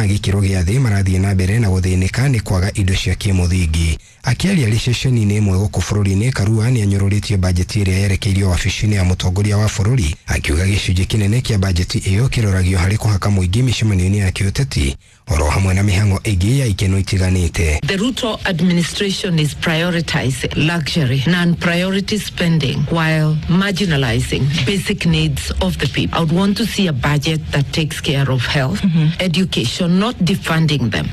gĩkĩro gĩa thĩ marathiĩ na mbere na gũthĩnĩka nĩ kwaga indo cia kĩmũthingi. Akĩaria arĩ ceceni-inĩ ĩmwe gũkũ bũrũri-inĩ, Karua nĩ anyũrũrĩtie bajeti ĩrĩa yerekeirio wabici-inĩ ya mũtongoria wa bũrũri, akiuga gĩcunjĩ kĩnene kĩa bajeti ĩyo kĩroragio harĩ kũhaka mũingĩ mĩcemanio-inĩ ya kĩũteti oro hamwe na mĩhang'o ĩngĩ ya ikeno itiganĩte. The Ruto administration is prioritizing luxury, non-priority spending while marginalizing basic needs of the people. I would want to see a budget that takes care of health, education, not defunding them.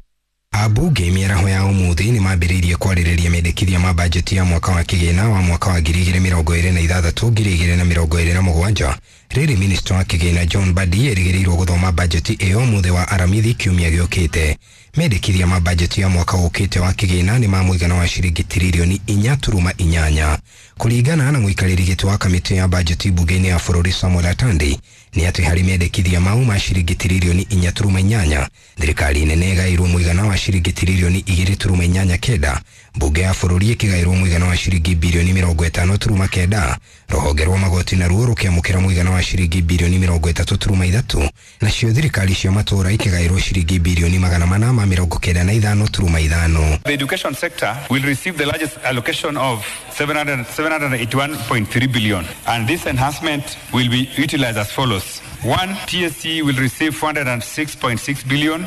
Ambunge mĩaraho ya ũmũthĩ nĩ mambĩrĩirie kwarĩrĩria mendekithia ma bajeti ya mwaka wa kĩgĩna wa mwaka wa 2026 2027. Rĩrĩ minista wa kĩgĩna John Mbadi erĩgĩrĩirwo gũthoma bajeti ĩyo ũmũthĩ wa Aramithi kiumia gĩũkĩte. Mendekithia ma bajeti ya mwaka ũkĩte wa kĩgĩna nĩ ma mũigana wa ciringi tiririoni 4.8. Kũringana na mũikarĩri gĩtĩ wa kamĩtĩ ya bajeti mbunge-inĩ ya bũrũri Samuel Atandi, nĩ atĩ harĩ mendekithia mau ma ciringi tiririoni 4.8, thirikari nene ĩgaĩirwo mũigana wa ciringi tiririoni 2.89, mbunge ya bũrũri ĩkĩgaĩrwo mũigana wa ciringi birioni 50.9, rũhonge rwa magoti naruo rũkĩamũkĩra mũigana wa ciringi birioni 33.3, nacio thirikari cia matũũra ikĩgaĩrwo ciringi birioni 495.5. The education sector will receive the largest allocation of 781.3 billion, and this enhancement will be utilized as follows. 1, TSC will receive 406.6 billion.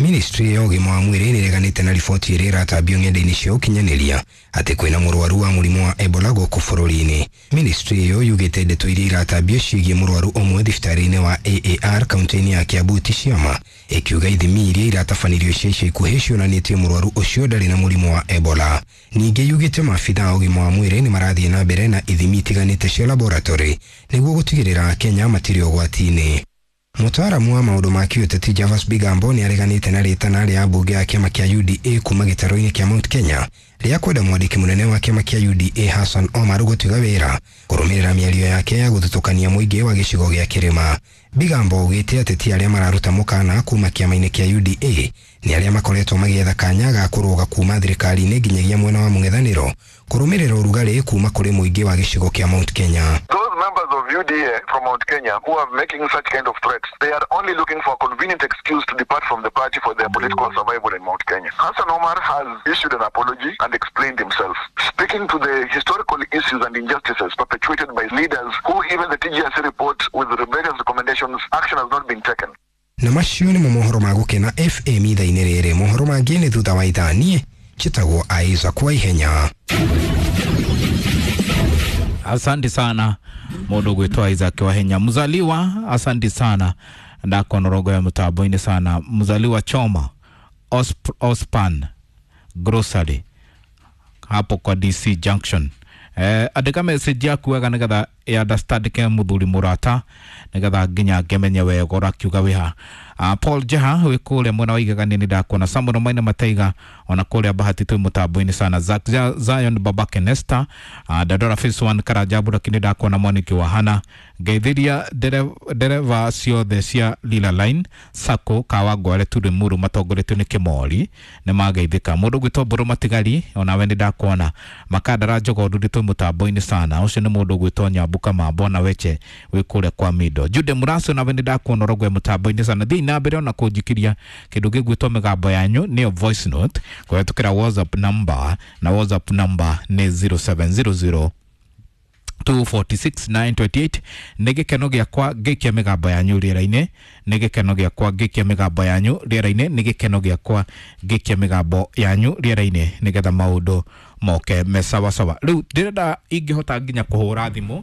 Ministry ya ũgima wa mwĩrĩ nĩreganĩte na riboti ĩrĩa ĩratambio ng'enda-inĩ cia ũkinyanĩria atĩ kwĩna mũrwaru wa mũrimũ wa Ebola gũkũ bũrũri-inĩ. Ministry ĩyo yugĩte ndeto iria iratambio ciĩgiĩ mũrwaru ũmwe thibitarĩ-inĩ wa AAR kaunti-inĩ ya Kiambu ti ciama, ĩkiuga ithimi iria iratabanirio cia ica ikuhĩ cionanĩtie mũrwaru ũcio ndarĩ na mũrimũ wa Ebola. Ningĩ yugĩte maabitha a ũgima wa mwĩrĩ nĩ marathiĩ na mbere na ithimi itiganĩte cia laboratory nĩguo gũtigĩrĩra Akenya matirĩ ũgwati-inĩ. Mũtaaramu wa maũndũ ma kĩũteti Javas Bigambo nĩ areganĩte na rĩtana rĩa mbunge ya kĩama kĩa UDA kuma gĩtarũ-inĩ kĩa Mount Kenya rĩa kwenda mwandĩki mũnene wa kĩama kĩa UDA Hassan Omar gũtiga wĩra kũrũmĩrĩra mĩario yake ya gũthutũkania mũingĩ wa gĩcigo gĩa kĩrĩma. Bigambo augĩte ateti arĩa mararuta mũkana kuma kĩama-inĩ kĩa UDA nĩ arĩa makoretwo magĩetha kanya ga kũrũga kuma thirikari-inĩ nginyagia mwena wa mũng'ethanĩro kũrũmĩrĩra ũrugarĩ kuma kũrĩ mũingĩ wa gĩcigo kĩa Mount Kenya. Those members of UDA from Mount Kenya who are making such kind of threats, they are only looking for a convenient excuse to depart from the party for their political survival in Mount Kenya. Hassan Omar has issued an apology and explained himself, speaking to the historical issues and injustices perpetuated by leaders who even the TGRC report with the various recommendations, action has not been taken. Na macio nĩmo mohoro ma Gũkena FM ithaa-inĩ rĩrĩ. Mohoro mangĩ nĩ thutha wa ithaa. Niĩ njĩtagwo Isaac Waihenya. Asante sana mundu gwitwa Isaac Wahenya mzaliwa, asante sana ndakonorogo ya mutambo-inĩ sana mzaliwa Choma Ospan Grocery hapo kwa DC Junction. Andĩka message yaku wega nĩgetha ya understand ke muthuri murata nĩgetha nginya ngemenye wega ũrakiuga wĩha. Paul Jeha wĩ kũrĩa mwena wa Igegania nĩ ndakuona. Samuel Maina Mataiga ona kũrĩa Bahati twĩ mũtambo-inĩ sana. Zack Zion Babake Nesta, Dadora Phase 1 Karajabu lakini ndakuona. Mwaniki wa Hana ngeithiria ndereva ciothe cia Lila Line Sacco Kawangware Turi Muru matongoretio nĩ Kĩmori nĩ mageithĩka. Mũndũ gwĩtwo Mbũrũ Matigari onawe nĩ ndakuona. Makandara Njogondu twĩ mũtambo-inĩ sana. Ũcio nĩ mũndũ gwĩtwo Nyambuka Mambo na Weche wĩ kũrĩa kwa Mindo. Jude Muracio nawe nĩ ndakuona ũrogwe mũtambo-inĩ sana. Thiĩ na mbere ona kũnjikiria kĩndũ gĩgwĩtwo mĩgambo yanyu nĩyo voice note kũhetũkĩra WhatsApp number, na WhatsApp number nĩ 0700 246 928. Nĩ gĩkeno gĩakwa ngĩikia mĩgambo yanyu rĩera-inĩ, nĩ gĩkeno gĩakwa ngĩikia mĩgambo yanyu rĩera-inĩ, nĩ gĩkeno gĩakwa ngĩikia mĩgambo yanyu rĩera-inĩ nĩgetha maũndũ moke me sawasawa. Rĩu ndĩrenda ingĩhota nginya kũhũra thimũ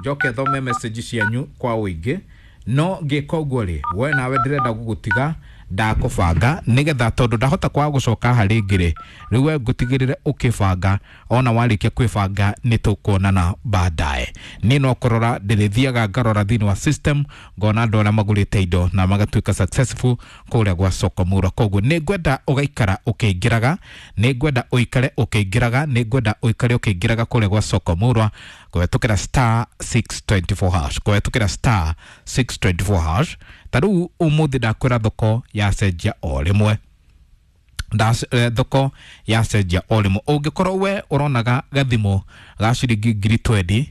njoke thome message cianyu kwa ũingĩ, no ngĩka ũguo rĩ, we nawe ndĩrenda gũgũtiga ndakũbanga nĩgetha tondũ ndahota kwaga gũcoka haha rĩngĩ rĩ, rĩu we ngũtigĩrĩre ũkĩbanga, ona warĩkia kwĩbanga nĩ tũkuonana baadaye. Niĩ no kũrora ndĩrĩthiaga ngarora thĩinĩ wa system ngona andũ arĩa magũrĩte indo na magatuĩka successful kũrĩa gwa Soko Murwa. Koguo nĩ ngwenda ũgaikara ũkĩingĩraga, nĩ ngwenda ũikare ũkĩingĩraga, nĩ ngwenda ũikare ũkĩingĩraga kũrĩa gwa Soko Murwa kũhetũkĩra star 624 hash, kũhetũkĩra star 624 hash. Ta rĩu ũmũthĩ ndakwĩra thoko yacenjia o rĩmwe, thoko yacenjia o rĩmwe. Ũngĩkorwo we ũronaga gathimũ ga ciringi 20,000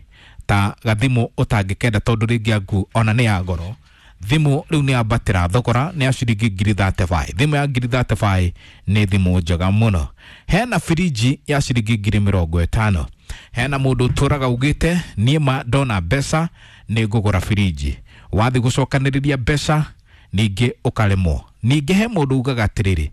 ta gathimũ ũtangĩkenda tondũ rĩngĩ angu ona nĩ ya goro, Thimu rĩu nĩ ambatĩra thogora nĩ ya ciringi ngiri 35. Thimũ ya ngiri 35 nĩ thimũ njega mũno. Hena firiji ya ciringi ngiri 50. Hena mũndũ ũtũraga ugĩte niĩ ma ndona mbeca nĩ ngũgũra firiji. Wathiĩ gũcokanĩrĩria mbeca ningĩ ũkaremwo. Ningĩ he mũndũ ugaga atĩrĩrĩ,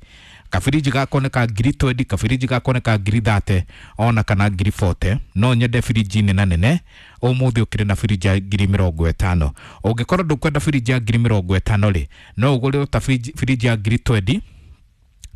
kabiriji gakoneka ngiri 20, kabiriji gakoneka ngiri 30 ona kana ngiri 40, no nyende biriji nene nene. Ũmũthĩ ũkĩrĩ na biriji ya ngiri 50. Ũngĩkorwo ndũkwenda biriji ya ngiri 50 rĩ, no ũgũrĩrwo ta biriji ya ngiri 20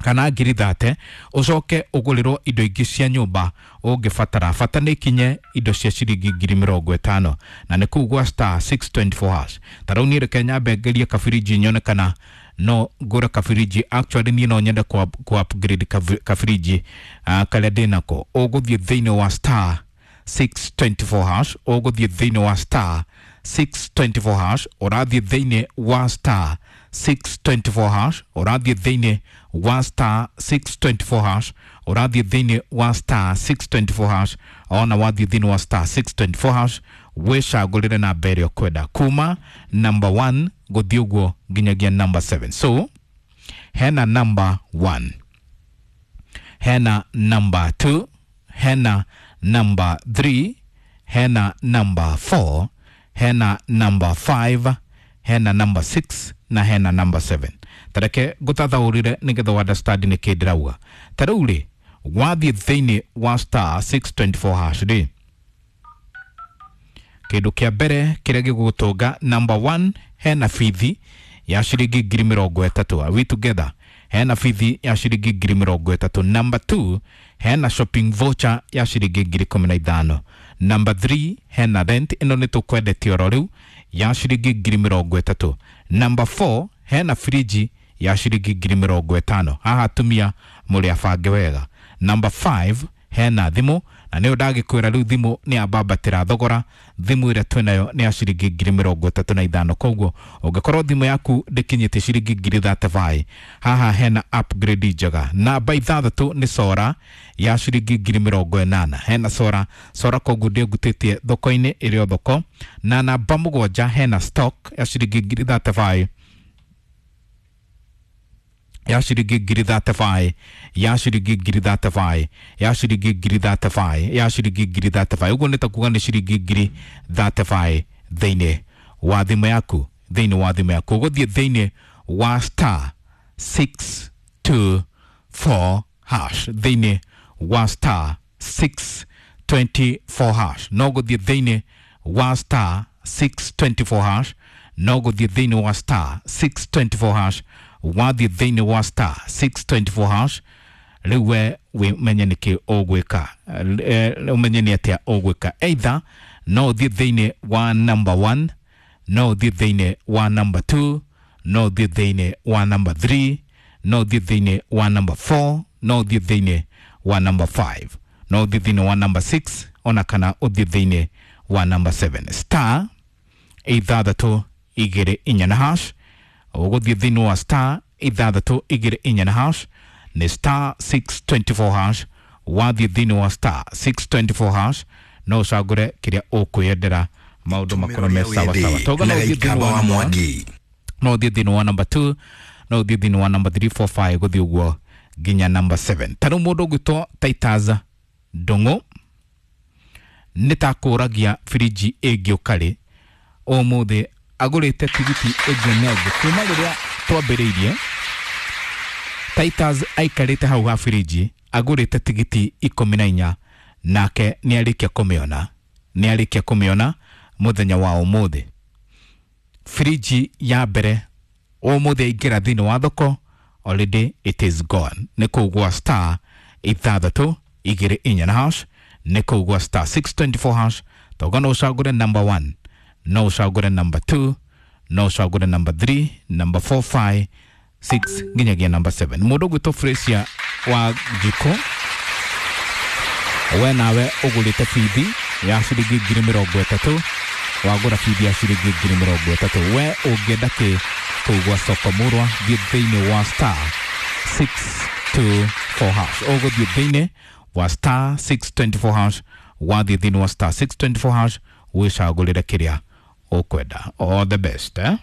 kana ngiri 30, ũcoke ũgũrĩrwo indo ingĩ cia nyũmba ũngĩbatara. Bata nĩ ikinye indo cia ciringi ngiri 50, na nĩ kũu gwa star 624 hash. Ta rĩu niĩ reke nyambe ngerie kabiriji nyone kana no ngũre kabiriji. Actually niĩ no nyende ku upgrade kabiriji karĩa ndĩnako. Ũgũthiĩ thĩinĩ wa star 624 hash, ũgũthiĩ thĩinĩ wa star 624 hash, ũrathiĩ thĩinĩ wa star 624 hash, ũrathiĩ thĩinĩ wa star 624 hash, ũrathiĩ thĩinĩ wa star 624 hash. Ona wathiĩ thĩinĩ wa star 624 hash wĩcagũrĩre namba ĩrĩa ũkwenda kuma number 1 gũthiĩ ũguo nginyagia number 7. So hena number 1, hena number 2, hena number 3, hena number 4, hena number 5, hena number 6 na hena number 7. Tareke ngũtathaũrĩre nĩgetha wa understand nĩ kĩ ndĩrauga. Ta rĩu rĩ, wathiĩ thĩinĩ wa star 624 hash rĩ, kĩndũ kĩa mbere kĩrĩa gĩgũgũtũnga number 1, hena bithi ya ciringi ngiri 30. Are we together? Hena bithi ya ciringi ngiri 30. Number 2, hena shopping voucher ya ciringi ngiri 15. Number 3, hena rent ĩno nĩ tũkwendetie oro rĩu ya ciringi ngiri 30. Number 4, hena friji ya ciringi ngiri 50. Haha atumia mũrĩ abange wega. Number 5, hena thimũ, na nĩyo ndagĩkwĩra rĩu thimũ nĩ yambambatĩra thogora. Thimũ ĩrĩa twĩnayo nĩ ya ciringi ngiri 35. Koguo ũngĩkorwo thimũ yaku ndĩkinyĩte ciringi ngiri 35, haha hena upgrade njega. Namba 6 nĩ sora ya ciringi ngiri 80. Hena sora koguo ndĩngutĩtie thoko-inĩ ĩrĩ o thoko. Na namba 7 hena stock ya ciringi ngiri 35, ya ciringi ngiri 35, ya ciringi ngiri 35, ya ciringi ngiri 35, ya ciringi ngiri 35. Ũguo nĩ ta kuga nĩ ciringi ngiri 35 thĩinĩ wa thimũ yaku, thĩinĩ wa thimũ yaku. Ũgũthiĩ thĩinĩ wa star 624 hash, thĩinĩ wa star 624 hash. No gũthiĩ thĩinĩ wa star 624 hash, no gũthiĩ thĩinĩ wa star 624 hash. Wathiĩ thĩinĩ wa star 624 hash rĩu we wĩmenye nĩkĩ ũgwĩka, ũmenye nĩ atĩa ũgwĩka. Either no ũthiĩ thĩinĩ wa number 1, no ũthiĩ thĩinĩ wa number 2, no ũthiĩ thĩinĩ wa number 3, no ũthiĩ thĩinĩ wa number 4, no ũthiĩ thĩinĩ wa number 5, no ũthiĩ thĩinĩ wa number 6, ona kana ũthiĩ thĩinĩ wa number 7. Star 6 2 4 hash. Ũgũthiĩ thĩinĩ wa star 6 2 4 hash, nĩ star 624 hash. Wathiĩ thĩinĩ wa star 624 hash no ũcagũre kĩrĩa ũkwĩyendera, maũndũ makorwo me sawa sawa. Toga no ũthiĩ thĩinĩ wa number 1, no ũthiĩ thĩinĩ wa number 2, no ũthiĩ thĩinĩ wa number 3, 4, 5 gũthiĩ ũguo nginya number 7. Ta rĩu mũndũ ũgwĩtwo Titus Ndung'u nĩ ta kũragia firiji ĩngĩũka rĩ, ũmũthĩ agũrĩte tigiti ĩngĩ na ĩngĩ. Kuma rĩrĩa twambĩrĩirie, Titus aikarĩte hau ha firiji agũrĩte tigiti 14, nake nĩ arĩkia kũmĩona, nĩ arĩkia kũmĩona mũthenya wa ũmũthĩ. Firiji ya mbere ũmũthĩ aingĩra thĩinĩ wa thoko, already it is gone. Nĩ kũu gwa star 6 2 4 hash, nĩ kũu gwa star 624 hash. Toga no ũcagũre number 1, no ũcagũre number 2, no ũcagũre number 3, number 4, 5, 6 nginyagia number 7. Mũndũ ũgwĩtwo Fresia wa Njiko, we nawe ũgũrĩte bithi ya ciringi ngiri 30, wagũra bithi ya ciringi ngiri 30. We ũngĩenda kĩ kũu gwa soko mũrwa, thiĩ thĩinĩ wa star 624 hash. Ũgũthiĩ thĩinĩ wa star 624 hash, wathiĩ thĩinĩ wa star 624 hash wĩcagũrĩre kĩrĩa ũkwenda. All the best, eh?